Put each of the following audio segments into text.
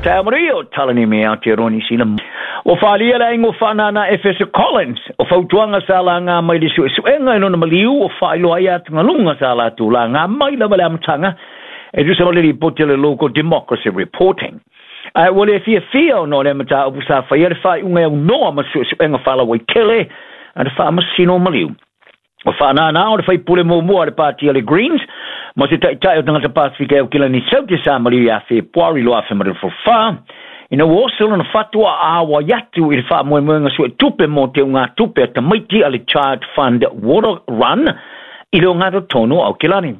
Taeao manuia o Talanemi Aotearoa Niu Sila. Ua faaalia le aiga o Faanana Efeso Collins o fautuaga sa laga mai le suesuega i lona maliu ua faailoa ai atugaluga sa latou laga mai lava le amataga e tusa ma le lipoti a le Local Democracy Reporting. Ae ua le fiafia ona o lea mataupu sa faia le faaiuga e aunoa ma suesuega faalauaitele a le Faamasino o Maliu. O Faanana o le faipule muamua a le pati a le Greens ma se taitai o tagata Pasifika e Aukilani Saute sa maliu ia Fepuari 2024 ina ua oso lona fatu a āwai atu i le faamoemoega suetupe mo teugatupe a tamaiti a le Child Fund Water Run i le ogatotonu o Aukilani.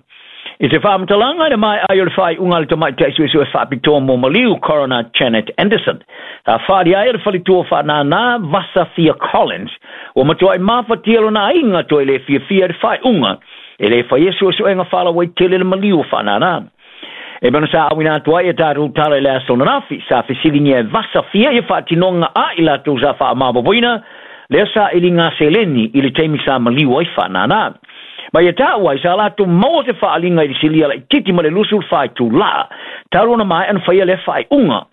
I se faamatalaga i le maea ai o le faaiuga a le tamaitai suesue faapitoa mo maliu Coroner Janet Anderson, sa faaalia ai e le faletua o Faanana, Vasafia Collins, ua matuai mafatia lona aiga toe le fiafia i le faaiuga e le faia suesuega faalauaitele le maliu o Faanana. E pei ona sa auina atu ai e tatou tala i le aso ananafi, sa fesiligia e Vasafia ia faatinoga a i latou sa faamaopoopoina lea sailiga seleni i le taimi sa maliu ai Faanana. Ma ia taua ai sa latou maua se faaaliga i le silia laitiiti ma le 24 itulā talu ona maea ona faia lea faaiuga.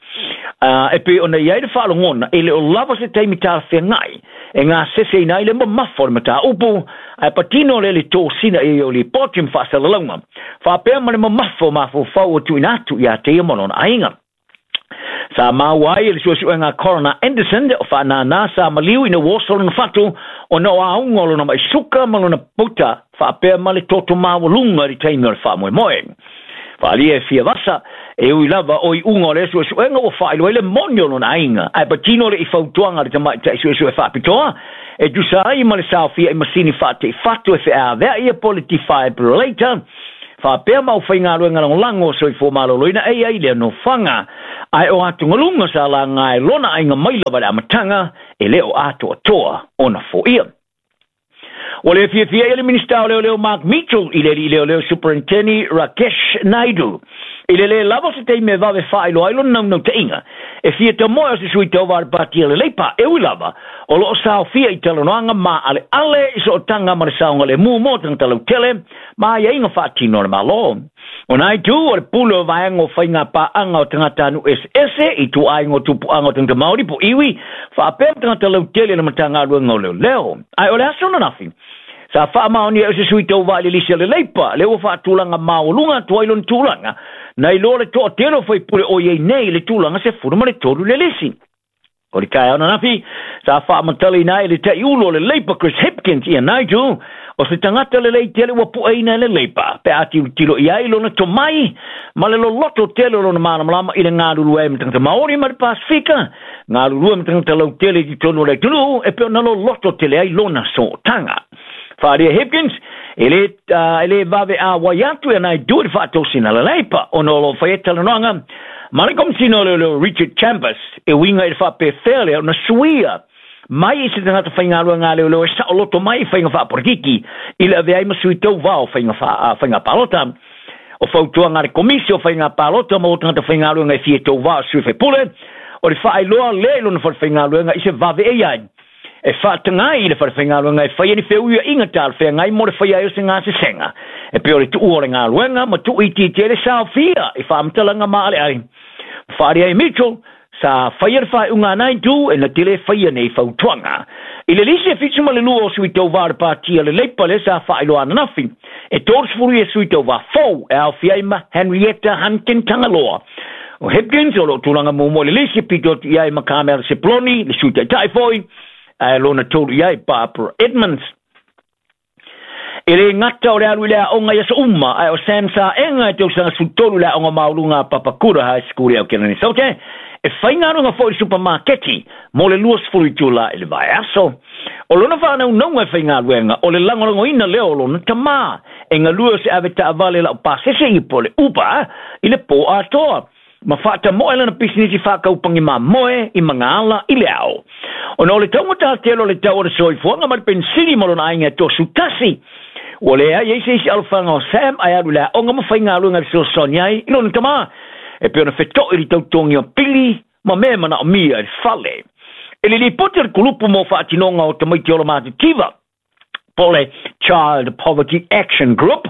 E pei ona i ai le faalogona, e le o lava se taimi talafeagai e gaseseina ai le mamafa o le mataupu, ae patino lea i le tosina i ai o lipoti ma faasalalauga, faapea ma le mamafa o mafaufau ua tuuina atu ia te ia ma lona aiga. Sa maua ai e le suesuega a Coroner Anderson o Faanana sa maliu ina ua oso lona fatu ona o auga o lona mai suka ma lona puta faapea ma le toto maualuga i le taimi o le faamoemoe. Faaalia e fia vasa, e ui lava o iuga o lea suesuega ua faailoa ai le moni o lona aiga, ae patino le i fautuaga a le tamaitai suesue faapitoa e tusa ai ma le saofia i masini faateifatu e feaveai ia po o le defibrillator faapea ma aufaigaluega lagolago o soifua maloloina e i ai lea nofoaga. Ae o atugaluga sa laga e lona aiga mai lava i le amataga, e le o atoatoa ona foia. Ua le fiafia ia le Minisita o Leoleo Mark Mitchell i le alii leoleo Superinteni Rakesh Naidu i le lē lava o se taimi e vave faailoa ai lona naunautaiga e fia tamoe o se sui tauva a le Pati a le Leipa, e ui lava o lo o saofia i talanoaga maaleale i sootaga ma le saogalemu mo tagata lautele ma aiaiga faatino a le Malo. O Naidu o le pule o vaega o faiga paaga o tagatanuu eseese i ituaiga o tupuaga o tagata Maori po iwi, faapea ma tagata lautele i le Matagaluega o Leoleo. Ae o le aso ananafi, sa faamaonia e se sui tauva i le lisi a le Leipa, lea ua faatulaga maualuga atu ai lona tulaga, nai loa le toatele o faipule o i ai nei i le tulaga 13 i le lisi. O le taeao ananafi, sa faamatalaina ai e le taiulu o le Leipa Chris Hipkins ia Nigel, o se tagata lelei tele ua pueina e le Leipa, pe a tilotilo i ai lona tomai ma le loloto tele o lona malamalama i le galulue ai ma tagata Maori ma le Pasifika, galulue ma tagata lautele i totonu o le atunuu e pei ona loloto tele ai lona sootaga. Faaalia Hipkins, e le, e le vave āwai atu e Naidu i le faatosina a le Leipa ona o lo o faia talanoaga ma le Komisina o Leoleo Richard Chambers e uiga i le faapefea lea ona suia mai i se tagata faigaluega a leoleo e saoloto mai i faiga faapolitiki i le avea ai ma sui tauva o faiga, faiga palota. O fautuaga a le Komisi o Faiga Palota mo tagata faigaluega e fia tauva o sui faipule, o le faailoa lea i lona fale faigaluega i se vave e i ai e faataga ai i le fale faigaluega e faia ni feuiaiga talafeagai mo le faia ai o se gasesega e pei o le tuua o le galuega ma tuuitiitia ai le saofia i faamatalaga maaleale. Faaalia ai Mitchell, sa faia le faaiuga a Naidu e na te le faia nei fautuaga. I le lisi e 72 o sui tauva o le Pati a le Leipa lea sa faailoa ananafi, e 30 ia sui tauva fou e aofia ai ma Henrietta Hunkin Tagaloa. O Hipkins o lo o tulaga muamua i le lisi, pito atu i ai ma Carmel Sepuloni, le sui taitai foi, ae lona tolu i ai Barbara Edmonds. E le gata o le alu i le aoga i aso uma, ae o Sam Saega e tausaga 13 i le aoga maualuga a Papakura High School i Aotearoa Saute, e faigaluega foi i le supamaketi mo le 20 itula i le vaiaso. O lona faanaunauga e faigaluega, o le lagolagoina lea o lona tamā, e galue o se ave taavale laupasese i po o le Uber i le pō atoa, ma faatamoe lana pisinisi faakaupangi mamoe i Magaala i le ao. Ona o le taugata tele o le tau o le soifuaga ma le penisini ma lona aiga e 31, ua leai ai se isi alofaga o Sam ae alu i le aoga ma faigaluega e fesoasoani ai i lona tamā, e pei ona feto'i i le tautogia o pili ma mea e manaomia i le fale. I le lipoti a le Kulupu mo Faatinoga o Tamaiti Ola Matitiva, po o le Child Poverty Action Group,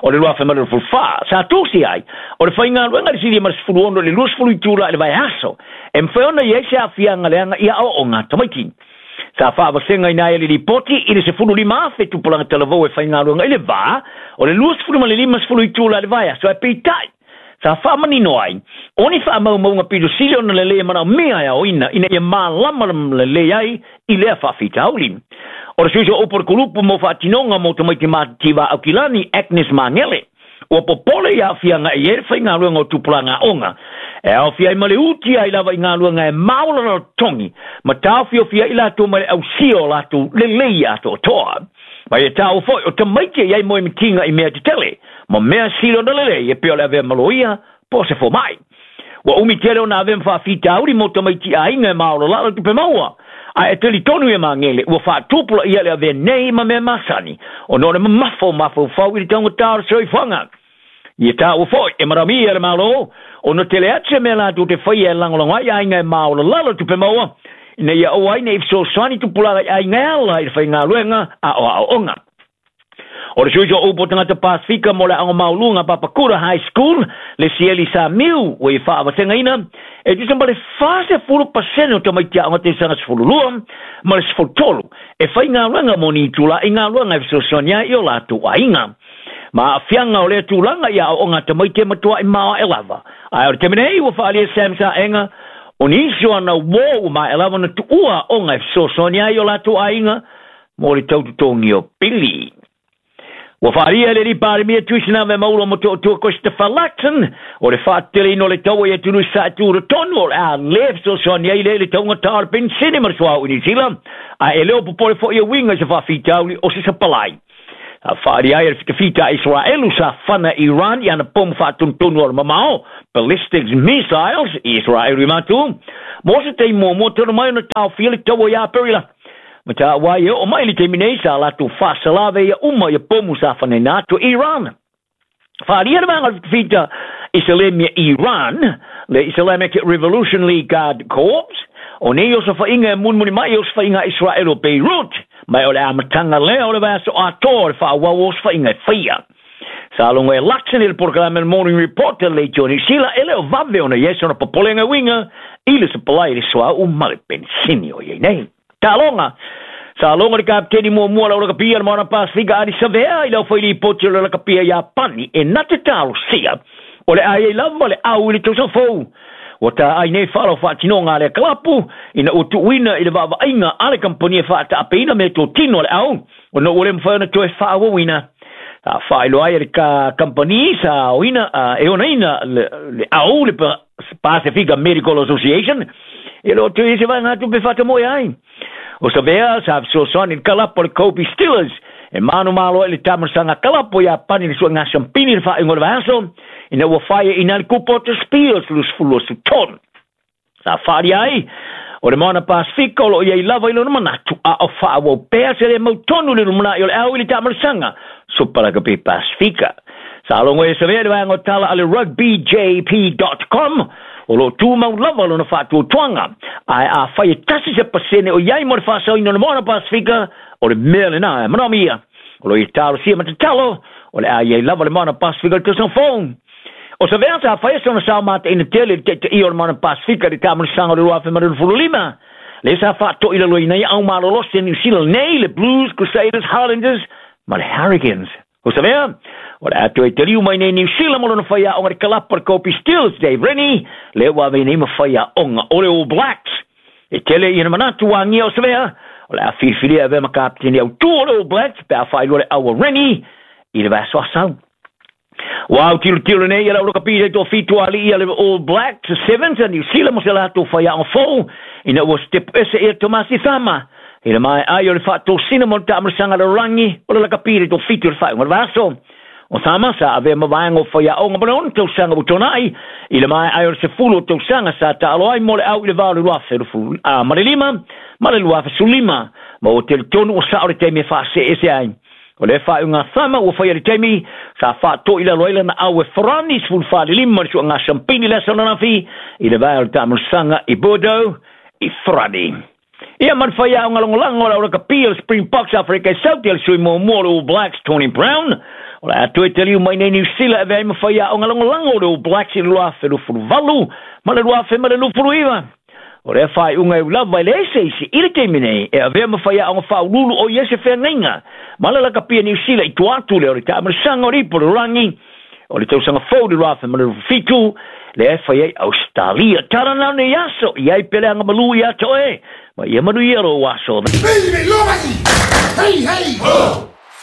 o le 2024. Sa tusi ai, o le faigaluega i le silia ma le 16 i le 20 itula i le vaiaso, e mafai ona i ai se aafiaga leaga i aoaoga a tamaiti. Sa faavasegaina ai e le lipoti i le 15,000 tupulaga talavou e faigaluega i le va o le 20 ma le 50 itula i le vaiaso, ae peitai, sa faamanino ai, o ni faamaumauga pito sili ona lelei e manaomia e aoina ina ia malama lelei ai i lea faafitauli. O le sui o upu o le kulupu mo faatinoga mo tamaiti matitiva Aukilani, Agnes Magele, ua popole i aafiaga e i ai le faigaluega o tupulaga aoga, e aofia ai ma le uti ai lava i galuega e maolalalo totogi ma taofiofia ai latou mai le ausia o latou lelei atoatoa. Ma ia taua foi o tamaiti e i ai moemitiga i mea tetele ma mea sili ona lelei e pei o le avea ma loia po o se fomai. Ua umi tele ona avea ma faafitauli mo tamaiti aiga e maolalalo tupe maua, ae e talitonu ia Magele ua faatupulaia le avea nei ma mea masani ona o le mamafa o mafaufau i le taugata o le soifuaga. Ia taua foi e manaomia e le Malo ona tele atu se mea latou te faia e lagolago ai aiga e maolalalo tupe maua ina ia aua ai ne i fesoasoani tupulaga i aiga e ala i le faigaluega a o aoaoga. O le sui o upu o tagata Pasifika mo le Aoga Maualuga Papakura High School, le Sieli Samiu, ua i faavasegaina, e tusa ma le 40% o tamaiti aoga tausaga 12 ma le 13 e faigaluega mo ni itula i galuega e fesoasoani ai i o latou aiga. Ma aafiaga o lea tulaga i aoaoga a tamaiti e matuai maoae lava. Ae o le taimi nei ua faaalia Sam Saega o nisi o ana uō ua maea lava ona tuua aoga e fesoasoani ai i o latou aiga mo le tau totogi o pili. Ua faaalia e le alii Palemia Tuisanave Maulo Motootua Christopher Luxon o le faateteleina o le taua i atunuu i sae tutotonu o le a le fesoasoani ai lea i le taugata o le penisini ma le suauu i Niu Sila, ae e le o popole foi e uiga i se faafitauli o se sapalai. Sa faaalia ai e le fitafita a Isaraelu sa fana Iran i ana pomu faatonutonu o le mamao, ballistics missiles, i Isaraelu i matu, mo se taimi muamua talu mai ona taofia le taua ia Aperila. Ma taua ai e oo mai i le taimi nei sa latou faasalave ia uma ia pomu sa fanaina atu e Iran. Faaalia le vaega o le fitafita Isalemia Iran, le Islamic Revolutionary Guard Corps, o nei osofaiga e mulimuli mai i osofaiga a Israel o Beirut, ma o le amataga lea o le vaiaso atoa o le faaauau o osofaiga e faia. Sa logo e Luxon i le polokalame le Morning Report a le Leitio Niu Sila, e le o vave ona i ai sona popolega e uiga i le sapalai i le suauu ma le penisini o i ai nei. Taaloga. Sa logo le kapiteni muamua o le au lakapia le Moana Pasifika Adi Savea i le aufai lipoti o le lakapia Iapani e na te talosia o le a i ai lava le au i le tausaga fou. Ua taai nei fala o faatinoga a lea kalapu ina ua tuuina i le vaavaaiga a le kamupani e faataapeina meatotino a le au ona ua le mafai ona toe faaauauina. Sa faailoa ai e le kamupani sa aoina e onaina le au le Pasifika Medical Association e le o toe i ai se vaegatupe e faatamoe ai. O Savea sa fesoasoani i le kalapu a le Kobe Steelers e manumalo ai le taamilosaga kalapu o Iapani i le suega siampini i le faaiuga o le vaiaso ina ua faieina ai le kupa o te Spears 2023. Sa faaalia ai o le Moana Pasifika o lo o i ai lava i lona manatu a o faaauau pea se le mautonu i le lumanai o le au i le taamilosaga Super Rugby Pasifika. Sa logo e Savea i le vaega o tala a le rugbyjp.com o lo o tumau lava lona faatuatuaga, ae afai e tasi se pasene o i ai mo le faasaoina o le Moana Pasifika, o le mea lena e manaomia. O lo o i talosia ma tatalo o le a i ai lava le Moana Pasifika i le tausaga fou. O Savea sa faia sona sao mataina tele i le taitaia o le Moana Pasifika i le taamilosaga o le 2025, lea sa faatoilaloina ai au malolosi a Niu Sila nei, le Blues, Crusaders, Highlanders ma le Hurricanes. O Savea, o le a toe taliu mai nei Niu Sila mo lona faiaoga i le kalapu a le Kobe Steelers, Dave Rennie, lea ua ave nei ma faiaoga o le All Blacks. E tele ia na manatu ua agia o Savea, o le a filifilia e avea ma kapiteni autū o le All Blacks pe a faailoa le au a Rennie i le vaiaso asau. Ua autilotilo nei ia le au lakapi i toafitu alii a le All Blacks Sevens a Niu Sila mo se latou faiaoga fou ina ua sitepu ese ia Tomasi Sama i le maea ai o le faatosina mo le taamilosaga lalolagi o le lakapi i le toafitu i le faaiuga o le vaiaso. O Sama sa avea ma vaega o faiaoga mo le 6 tausaga ua tuanai i le maea ai o le 10 o tausaga sa taalo ai mo le au i le va o le 2005 ma le 2015 ma ua talitonu ua sao le taimi e faaseese ai. O lea faaiuga Sama ua faia i le taimi sa faatoilalo ai lana au e Farani 15 le suaga siampini le aso ananafi i le vae o le taamilosaga i Bordeaux i Farani. Ia ma le faiaoga lagolago o le au lakapi o le Springboks Afrika i South le sui muamua o le All Blacks Tony Brown. O le a toe taliu mai nei Niu Sila e avea ai ma faiaoga lagolago o le All Blacks i le 2028 ma le 2029. O lea faaiuga e ui lava e leai se isi i le taimi nei e avea ma faiaoga faauluulu o i ai se feagaiga ma le lakapia Niu Sila i tua atu lea o le taamilosaga o le Ipu o le Lalolagi o le tausaga fou i le 2027 lea e fai ai Ausetalia. Tala na o nei aso, i ai pea le agamalu ia te oe, ma ia manuia lou aso. Hey, hey, ho!